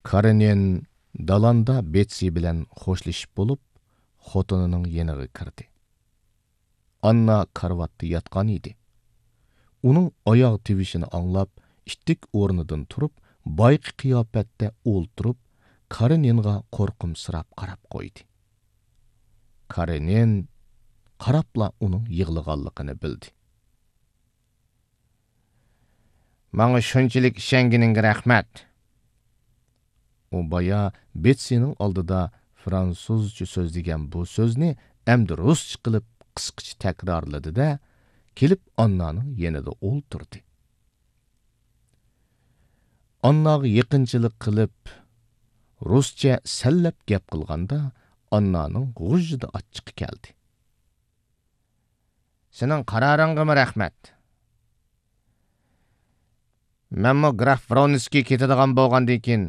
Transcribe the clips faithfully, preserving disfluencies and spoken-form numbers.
كارېنىن دالاندا بېتسى بىلەن خوشلىشىپ بولۇپ، خوتۇنىنىڭ يېنىغا كىردى. ئاننا كارىۋاتتا ياتقان ئىدى. ئۇنىڭ ئاياغ تىۋىشىنى ئاڭلاپ، ئىتتىك ئورنىدىن تۇرۇپ، بايىقى قىياپەتتە ئولتۇرۇپ، كارېنىنغا قورقۇمسىراپ قاراپ قويدى. كارېنىن قاراپلا ئۇنىڭ يىغلىغانلىقىنى بىلدى. ماڭا شۇنچىلىك ئىشەنگىنىڭگە رەھمەت. ئۇ بايا بېتسىنىڭ ئالدىدا فرانسۇزچە سۆزلىگەن بۇ سۆزنى ئەمدى رۇسچە قىلىپ قىسقىچە تەكرارلىدى-دە، كېلىپ ئاننانىڭ يېنىدا ئولتۇردى. ئانناغا يېقىنچىلىق قىلىپ، رۇسچە سەنلەپ گەپ قىلغاندا، ئاننانىڭ غۇژژىدە ئاچچىقى كەلدى. سېنىڭ قارارىڭغىمۇ رەھمەت. مەنمۇ گراف ۋرونسكىي كېتىدىغان بولغاندىن كېيىن،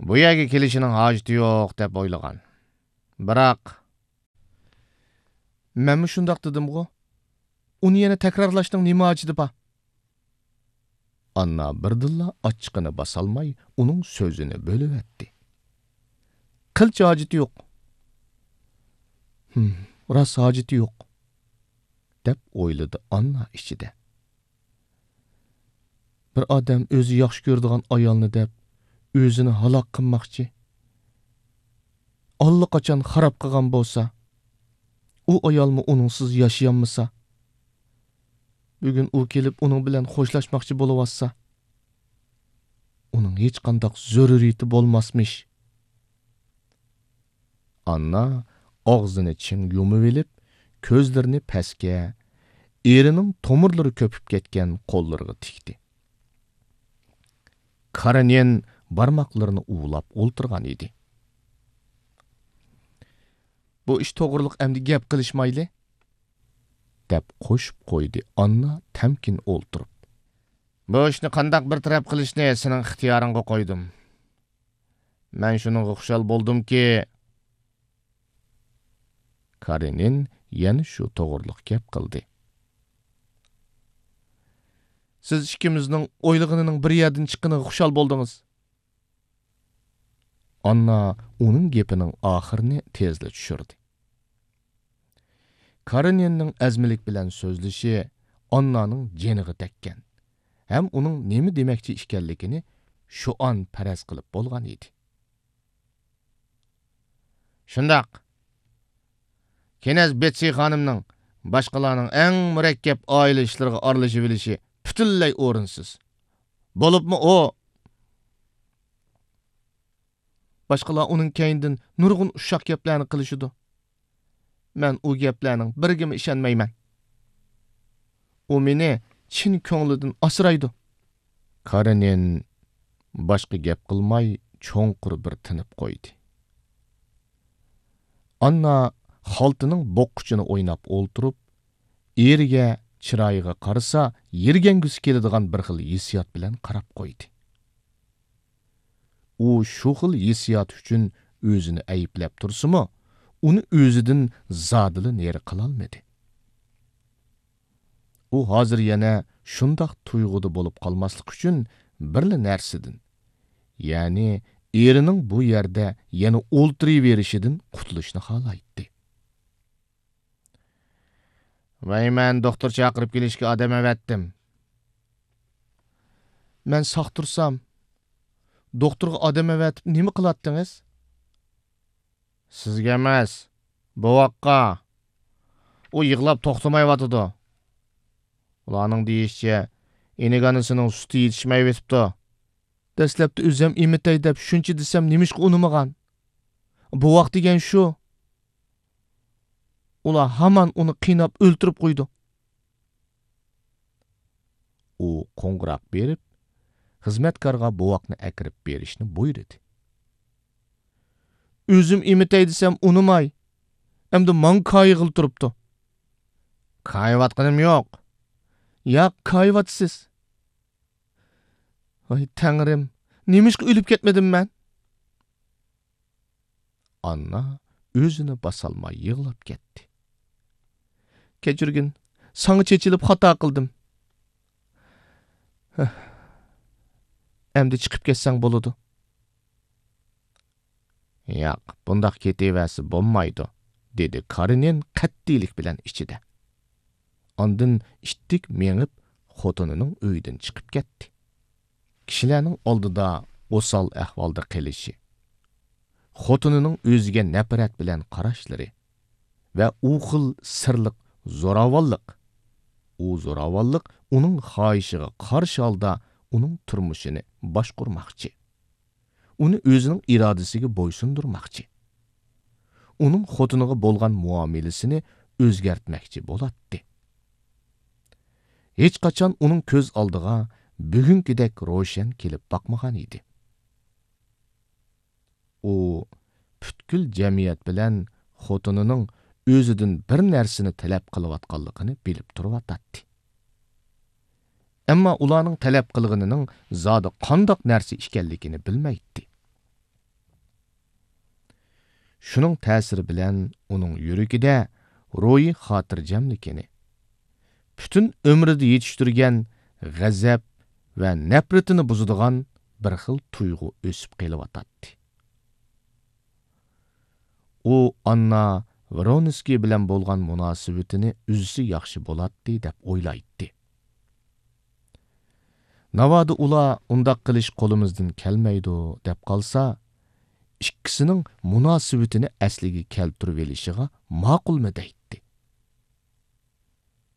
بۇ يەرگە كېلىشىنىڭ ھاجىتى يوق دەپ ئويلىغان. بىراق، مەنمۇ شۇنداق دېدىمغۇ؟ ئۇنى يەنە تەكرارلاشنىڭ نېمە ھاجىتى بار؟ ئاننا بىردىنلا ئاچچىقىنى باسالماي، ئۇنىڭ سۆزىنى بۆلۈۋەتتى. قىلچە ھاجىتى يوق. ھىم، راست ھاجىتى يوق، دەپ ئويلىدى ئاننا ئىچىدە. بىر ئادەم ئۆزى ياخشى كۆرىدىغان ئايالنى دەپ، ئۆزىنى ھالاك قىلماقچى. ئاللىقاچان خاراب قىلغان بولسا، ئۇ ئايالمۇ ئۇنىڭسىز ياشىيالمىسا، بۈگۈن ئۇ كېلىپ ئۇنىڭ بىلەن خوشلاشماقچى بولۇۋاتسا، ئۇنىڭ ھېچقانداق زۆرۈرىيىتى بولماسمىش. ئاننا ئاغزىنى چىڭ يۇمۇۋېلىپ، كۆزلىرىنى پەسكە، ئېرىنىڭ تومۇرلىرى كۆپۈپ كەتكەن قوللىرىغا تىكتى. كارېنىن بارماقلىرىنى ئۇۋىلاپ ئولتۇرغان ئىدى. بۇ ئىش توغرىلىق ئەمدى گەپ قىلىشمايلى، دەپ قوشۇپ قويدى ئاننا تەمكىن ئولتۇرۇپ. بۇ ئىشنى قانداق بىر تەرەپ قىلىشنى سېنىڭ ئىختىيارىڭغا قويدۇم. مەن شۇنىڭغا خۇشال بولدۇمكى، كارېنىن يەنە شۇ توغرىلىق گەپ قىلدى. سىز ئىككىمىزنىڭ ئويلىغىنىنىڭ بىر يەردىن چىققىنىغا خۇشال بولدىڭىز. ئاننا ئۇنىڭ گېپىنىڭ ئاخىرىنى تېزلا چۈشۈردى. كارېنىننىڭ ئەزمىلىك بىلەن سۆزلىشى ئاننانىڭ جېنىغا تەگكەن ھەم ئۇنىڭ نېمە دېمەكچى ئىكەنلىكىنى شۇئان پەرەز قىلىپ بولغان ئىدى. شۇنداق. كېنەز بېتسى خانىمنىڭ باشقىلارنىڭ ئەڭ مۇرەككەپ ئائىلە ئىشلىرىغا ئارىلىشىۋېلىشى پۈتۈنلەي ئورۇنسىز. بولۇپمۇ ئۇ باشقىلار ئۇنىڭ كەينىدىن نۇرغۇن ئۇششاق گەپلەرنى قىلىشىدۇ. مەن ئۇ گەپلەرنىڭ بىرىگىمۇ ئىشەنمەيمەن. ئۇ مېنى چىن كۆڭلىدىن ئاسرايدۇ. كارېنىن باشقا گەپ قىلماي، چوڭقۇر بىر تىنىپ قويدى. ئاننا خالتىنىڭ بوغقۇچىنى ئويناپ ئولتۇرۇپ، ئېرىگە، چىرايىغا قارىسا، يىرگەنگۈسى كېلىدىغان بىر خىل ھېسسىيات بىلەن قاراپ قويدى. ئۇ شۇ خىل ھېسسىيات ئۈچۈن ئۆزىنى ئەيىبلەپ تۇرسىمۇ، ئۇنى ئۆزىدىن زادىلا نېرى قىلالمىدى. ئۇ ھازىر يەنە شۇنداق تۇيغۇدا بولۇپ قالماسلىق ئۈچۈن بىرلا نەرسىدىن، يەنى ئېرىنىڭ بۇ يەردە يەنە ئولتۇرۇۋېرىشىدىن قۇتۇلۇشنى خالايتتى. ۋەي، مەن دوختۇر چاقىرىپ كېلىشكە ئادەم ئەۋەتتىم. مەن ساق تۇرسام، دوختۇرغا ئادەم ئەۋەتىپ نېمە قىلاتتىڭىز؟ سىزگە ئەمەس، بوۋاققا. ئۇ يىغلاپ توختىمايۋاتىدۇ. ئۇلارنىڭ دېيىشىچە، ئىنىك ئانىسىنىڭ سۈتى يېتىشمەيۋېتىپتۇ. دەسلەپتە ئۆزۈم ئېمىتەي دەپ شۇنچە دېسەم، نېمىشقا ئۇنىمىغان؟ بوۋاق دېگەن شۇ. ئۇلار ھامان ئۇنى قىيناپ ئۆلتۈرۈپ قويىدۇ. ئۇ قوڭغۇراق بېرىپ، خىزمەتكارغا بوۋاقنى ئەكىرىپ بېرىشنى بۇيرۇدى. ئۆزۈم ئېمىتەي دېسەم ئۇنىماي، ئەمدى ماڭا كايىغىلى تۇرۇپتۇ. كايىۋاتقىنىم يوق. ياق، كايىۋاتىسىز. ۋاي تەڭرىم، نېمىشقا ئۆلۈپ كەتمىدىم مەن؟ ئاننا ئۆزىنى باسالماي يىغلاپ كەتتى. كەچۈرگىن، ساڭا چېچىلىپ خاتا قىلدىم. ھە، ئەمدى چىقىپ كەتسەڭ بولىدۇ. ياق، بۇنداق كېتىۋەرسە بولمايدۇ، دېدى كارېنىن قەتئىيلىك بىلەن ئىچىدە. ئاندىن ئىتتىك مېڭىپ، خوتۇنىنىڭ ئۆيىدىن چىقىپ كەتتى. كىشىلەرنىڭ ئالدىدا ئوسال ئەھۋالدا قېلىشى، خوتۇنىنىڭ ئۆزىگە نەپرەت بىلەن قاراشلىرى ۋە ئۇ خىل سىرلىق زوراۋانلىق، ئۇ زوراۋانلىق ئۇنىڭ خاھىشىغا قارشى ھالدا ئۇنىڭ تۇرمۇشىنى باشقۇرماقچى، ئۇنى ئۆزىنىڭ ئىرادىسىگە بويسۇندۇرماقچى، ئۇنىڭ خوتۇنىغا بولغان مۇئامىلىسىنى ئۆزگەرتمەكچى بولاتتى. ھېچقاچان ئۇنىڭ كۆز ئالدىغا بۈگۈنكىدەك روشەن كېلىپ باقمىغان ئىدى. ئۇ پۈتكۈل جەمئىيەت بىلەن خوتۇنىنىڭ ئۆزىدىن بىر نەرسىنى تەلەپ قىلىۋاتقانلىقىنى بىلىپ تۇرۇۋاتاتتى. ئەمما ئۇلارنىڭ تەلەپ قىلغىنىنىڭ زادى قانداق نەرسە ئىكەنلىكىنى بىلمەيتتى. شۇنىڭ تەسىرى بىلەن ئۇنىڭ يۈرىكىدە روھىي خاتىرجەملىكىنى، پۈتۈن ئۆمرىدە يېتىشتۈرگەن غەزەپ ۋە نەپرىتىنى بۇزىدىغان بىر خىل تۇيغۇ ئۆسۈپ قېلىۋاتاتتى. ئۇ ئاننا ۋرونسكىي بىلەن بولغان مۇناسىۋىتىنى ئۈزسە ياخشى بولاتتى، دەپ ئويلايتتى. ناۋادا ئۇلار ئۇنداق قىلىش قولىمىزدىن كەلمەيدۇ، دەپ قالسا، ئىككىسىنىڭ مۇناسىۋىتىنى ئەسلىگە كەلتۈرۈۋېلىشىغا ماقۇلمۇ دەيتتى.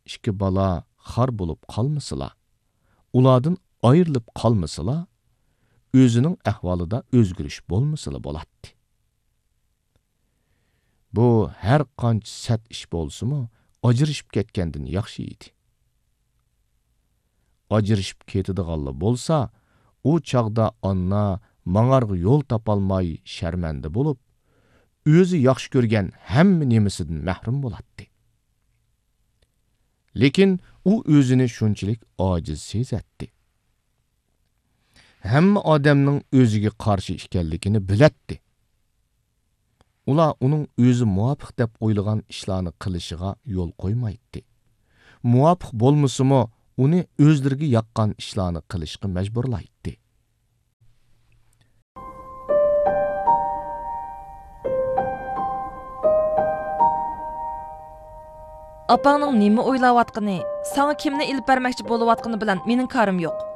ئىككى بالا خار بولۇپ قالمىسىلا، ئۇلاردىن ئايرىلىپ قالمىسىلا، ئۆزىنىڭ ئەھۋالىدا ئۆزگىرىش بولمىسىلا بولاتتى. بۇ ھەر قانچە سەت ئىش بولسىمۇ، ئاجرىشىپ كەتكەندىن ياخشى ئىدى. ئاجرىشىپ كېتىدىغانلا بولسا، ئۇ چاغدا ئاننا ماڭارغا يول تاپالماي شەرمەندە بولۇپ، ئۆزى ياخشى كۆرگەن ھەممە نېمىسىدىن مەھرۇم بولاتتى. لېكىن ئۇ ئۆزىنى شۇنچىلىك ئاجىز سېزەتتى. ھەممە ئادەمنىڭ ئۆزىگە قارشى ئىكەنلىكىنى بىلەتتى. ئۇلار ئۇنىڭ ئۆزى مۇۋاپىق دەپ ئويلىغان ئىشلارنى قىلىشىغا يول قويمايتتى. مۇۋاپىق بولمىسىمۇ، ئۇنى ئۆزلىرىگە ياققان ئىشلارنى قىلىشقا مەجبۇرلايتتى. ئاپاڭنىڭ نېمە ئويلاۋاتقىنى، ساڭا كىمنى ئېلىپ بەرمەكچى بولۇۋاتقىنى بىلەن مېنىڭ كارىم يوق.